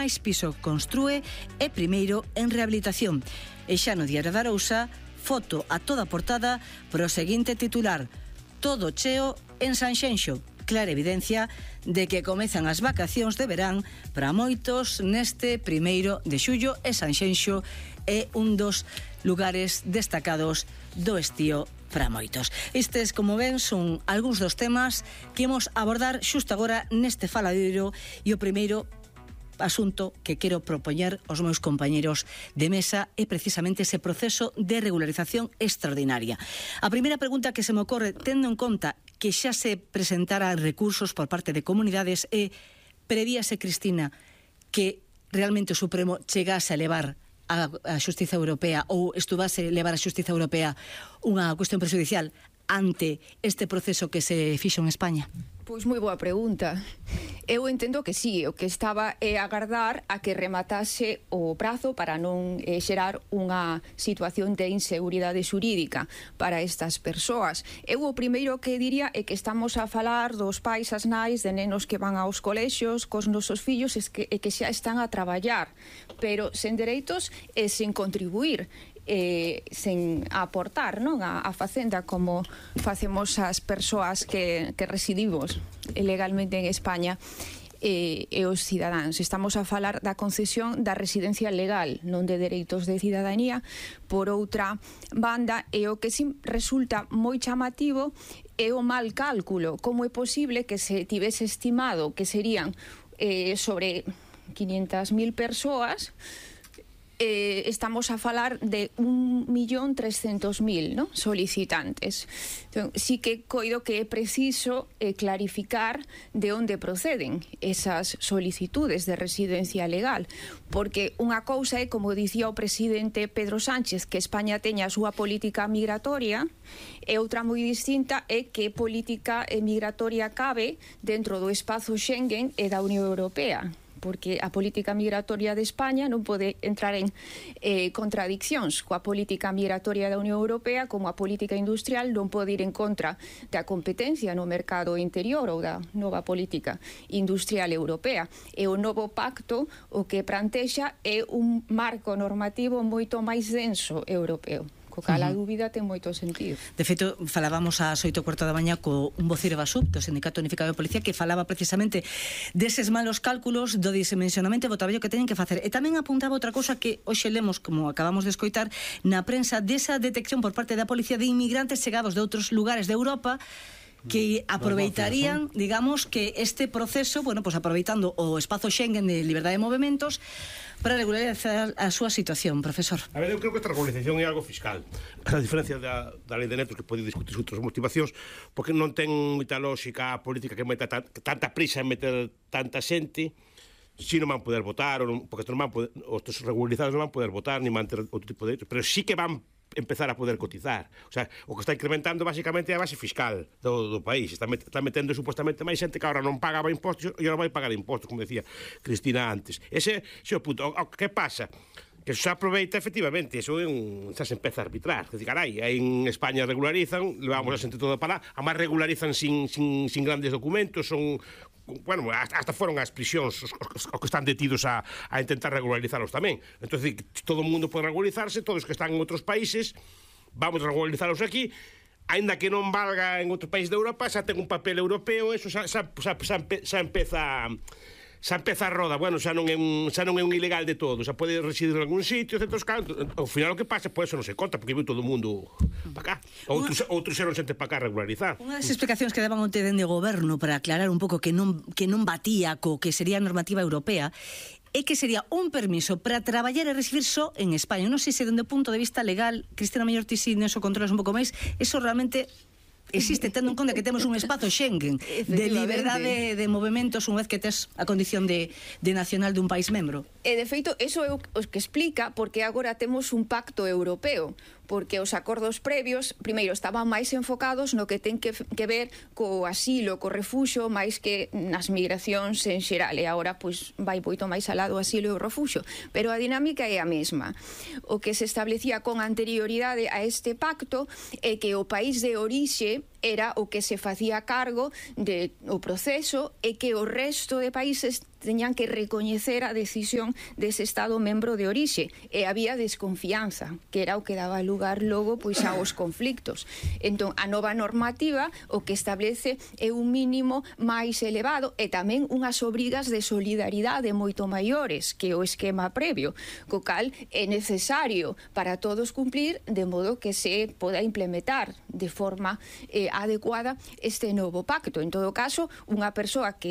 máis piso construe e primeiro en rehabilitación. E xa no Diario da Arousa, foto a toda portada pro seguinte titular: todo cheo en Sanxenxo. Clara evidencia de que comezan as vacacións de verán para moitos neste 1 de xullo, e Sanxenxo é un dos lugares destacados do estío para moitos. Estes, como ven, son algúns dos temas que imos abordar xusto agora neste faladeiro, e o primeiro asunto que quero propoñer aos meus compañeros de mesa é precisamente ese proceso de regularización extraordinaria. A primeira pregunta que se me ocorre, tendo en conta que xa se presentaran recursos por parte de comunidades, e prevíase, Cristina, que realmente o Supremo chegase a levar a Xustiza Europea, ou estuvase a levar a Xustiza Europea unha cuestión prexudicial ante este proceso que se fixo en España? Pois moi boa pregunta. Eu entendo que sí, o que estaba é agardar a que rematase o prazo para non xerar unha situación de inseguridade xurídica para estas persoas. Eu o primeiro que diría é que estamos a falar dos pais, as nais, de nenos que van aos colexios cos nosos fillos e que xa están a traballar, pero sen dereitos e sen contribuir, sen aportar, non, a facenda como facemos as persoas que residimos legalmente en España e os cidadáns. Estamos a falar da concesión da residencia legal, non de dereitos de cidadanía. Por outra banda, e o que sí resulta moi chamativo é o mal cálculo. Como é posible que se tivese estimado que serían sobre 500.000 persoas, estamos a falar de 1.300.000, ¿no?, solicitantes. Entón, sí que coido que é preciso clarificar de onde proceden esas solicitudes de residencia legal, porque unha cousa é, como dicía o presidente Pedro Sánchez, que España teña a súa política migratoria, e outra moi distinta é que política migratoria cabe dentro do espazo Schengen e da Unión Europea, porque a política migratoria de España non pode entrar en contradiccións coa política migratoria da Unión Europea, como a política industrial non pode ir en contra da competencia no mercado interior ou da nova política industrial europea. E o novo pacto o que plantexa é un marco normativo moito máis denso europeo, co cal a dúbida ten moito sentido. De feito, falábamos ás 8:15 da mañá co un voceiro da SUP, do Sindicato Unificado de Policía, que falaba precisamente deses malos cálculos, do dimensionamento e do traballo que teñen que facer. E tamén apuntaba outra cousa que hoxe lemos, como acabamos de escoitar, na prensa, desa detección por parte da policía de inmigrantes chegados de outros lugares de Europa que aproveitarían, digamos, que este proceso, bueno, pues aproveitando o espazo Schengen de liberdade de movimentos para regularizar a súa situación, profesor. A ver, eu creo que esta regularización é algo fiscal, a diferencia da lei de netos, que pode discutir outras motivacións, porque non ten moita lógica a política que meta tanta prisa en meter tanta xente, si non van poder votar, porque non van poder, os regularizados non van poder votar ni manter outro tipo de derechos, pero sí que van empezar a poder cotizar. O sea, o que está incrementando basicamente é a base fiscal do país. Está metendo supuestamente máis xente que agora non pagaba impostos e agora vai pagar impostos, como decía Cristina antes. Ese é o punto. O que pasa? Que se aproveita, efectivamente, eso xa se empeza a arbitrar. Que carai, en España regularizan, levamos a xente toda para lá, además regularizan sin grandes documentos, son, bueno, hasta foron as prisións os que están detidos a intentar regularizarlos tamén. Entón, todo o mundo pode regularizarse, todos os que están en outros países, vamos a regularizarlos aquí, aínda que non valga en outro país de Europa, xa ten un papel europeo, eso xa empeza a roda. Bueno, xa non é un ilegal de todo, xa pode residir en algún sitio, certos casos. Ao final o que pasa, pois eso non se conta, porque viu todo o mundo para cá. Outros xeron xente para cá regularizar. Unha das explicacións que daban onte dende o goberno para aclarar un pouco que non batía co que sería a normativa europea é que sería un permiso para traballar e recibir só en España. Non sei se dende o punto de vista legal, Cristina mellor ti si neso controlas un pouco máis, eso realmente existe, tendo en conta que temos un espazo Schengen de liberdade de movimentos unha vez que tes a condición de nacional dun país membro. E de feito, eso é o que explica porque agora temos un pacto europeo, porque os acordos previos, primeiro, estaban máis enfocados no que ten que ver co asilo, co refuxo, máis que nas migracións en xeral, e agora pois vai moito máis alá do asilo e o refuxo, pero a dinámica é a mesma. O que se establecía con anterioridade a este pacto é que o país de orixe era o que se facía cargo do proceso e que o resto de países teñan que recoñecer a decisión dese Estado membro de orixe, e había desconfianza, que era o que daba lugar logo pois aos conflictos. Entón, a nova normativa o que establece é un mínimo máis elevado e tamén unhas obrigas de solidaridade moito maiores que o esquema previo, co cal é necesario para todos cumplir, de modo que se poda implementar de forma adecuada este novo pacto. En todo caso, unha persoa que